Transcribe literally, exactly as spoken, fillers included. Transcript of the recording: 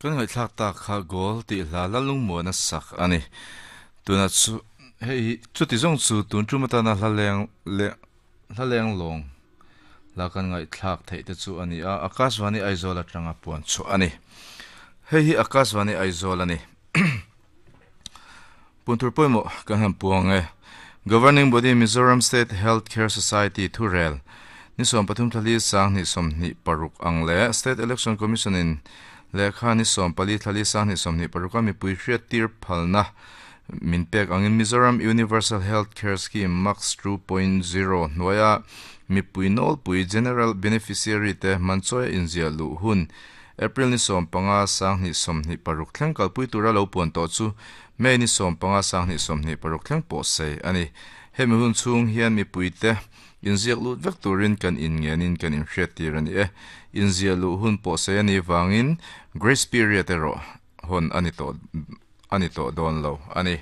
Kan ngai thlak ta kha gol ti hla lalung mo na sak ani tuna chu hei chuti zong chu tun chu mata na hlaleng le hlaleng long la kan ngai thlak thei te chu ani a Akashvani Aizawl atanga puan chu ani hei hi Akashvani Aizawl ani puntur poimo kan han puang e Governing Body Mizoram State Healthcare Society Thurel ni som pathum thali sang ni som ni paruk ang le State Election Commission in lekha ni som pali thali sang ni som ni paruk ami pui hriat tir phalna min pek angin Mizoram Universal Healthcare Scheme Max two point zero hnuaia mi pui nol pui General Beneficiary te manchoi inzia lu hun April ni som panga sang ni som ni paruk thleng kalpui tura lo puan to chu May ni som panga sang ni som ni paruk thleng pawh sei ani hemi hun chhung hian mi pui te inziak lut vek turin kan in ngenin kan in hriat tir ani e inzia lu hun pawh sei ani wangin grace period ero hon ani to ani to don lo ani.